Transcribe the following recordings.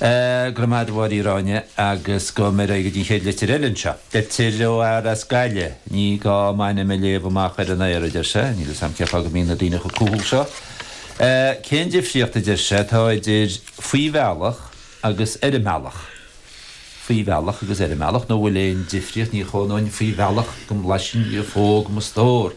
Go raibh maith agat a Mháire Uí Ráinne agus gabhfaidh mé ar aghaidh go dtí an chéad litir eile anseo. Litir ó fhear as Gaillimh. Ní gá m'ainm a léamh amach ar an aer, a deir sé. Níl fhios a'm cén fáth go mbíonn na daoine chomh cúthail seo. Cén difríocht, a deir sé, atá idir faoi bhealach agus ar an mbealach? Faoi bhealach agus ar an mbealach, nó bhfuil aon difríocht? Ní chónóinn faoi bhealach go mblaisfinn giofóg mo stór.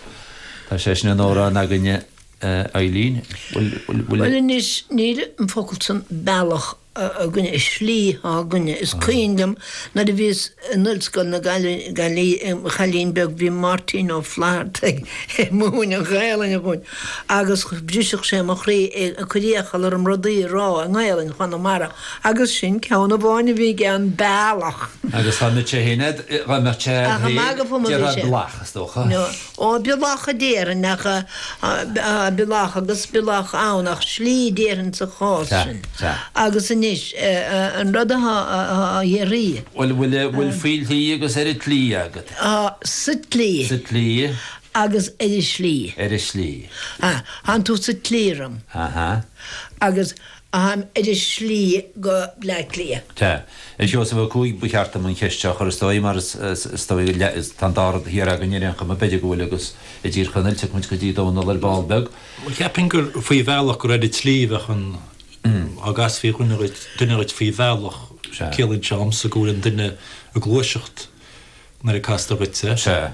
Tá sé sin in amhrán againne. Eileen, Bhfuil, bhfuil, bhfuil. Bhuel anois, níl an focal san bealach againne, is slí atá againne. Is cuimhin liom nuair a bhíos in Ollscoil na Gaillimhe i mo chailín beag bhí Máirtín Ó Flatharta ag múineadh Gaelainne dhúinn agus bhriseadh sé mo chroí ag cur iachall orm rudaí a rá i nGaelainn Chonamara agus sin ceann amháin a bhí aige, an bealach. Agus dá mbeadh sé féin a'd, dá mbeadh sé a'd Ach ag magadh fúm a bhí déarfá sé. blach, is dócha. Ó, bealach a déarfainn, ach bealach agus bealach ann, ach slí déarfainn sa chás sin. Agus anois, an rud atá á iarraidh. Bhuel, bhfuil, bhfuil faoi shlí agus ar an tslí agat? Tá, sa tslí. Sa tslí. Agus ar an slí. Ar an slí. Tánn tú sa tslí orm. Aha. Agus táim ar an slí go Bleá Cliath. Sea. A Sheosaimh Ó Cuaig, ba cheart dom an cheist seo a chur is dóigh, mar is dóigh tá an dá rud thiar againn ar aon chuma, b'fhéidir go bhfuil agus i dTír Chonaill, tiocfaidh muid go dtí Dónal ar ball beag. Bhuel, cheapfainn gur faoi bhealach gur ar an tslí a bheadh an, dá gcasfaí dhuine dhuit, duine dhuit faoi bhealach, ciallaíonn sé dhomsa go bhfuil an duine ag gluaiseacht nuair a castar dhuit é. Sea.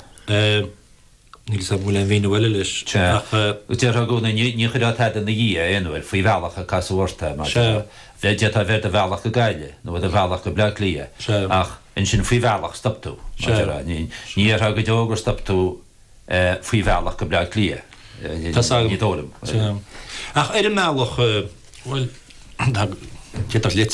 Níl 'fhios agam an bhfuil aon mhíniú eile leis, Sea. ach. Déarfá i gcónaí, ní chuirfeá tada ina dhiaidh aon uair, faoi bhealach a casadh ort é, mar Sea. d'fhéadfá a bheith ar do bhealach go Gaillimh, nó ar do bhealach go Bleá Cliath, Sea. ach ansin faoi bhealach stop tú, mar Sea. déarfá. Ní déarfá go deo gur stop tú faoi bhealach go Bleá Cliath. Tá's agam. Ní dóigh liom. Sea. Ach ar an mbealach, bhuel, d'fhéadfadh litir.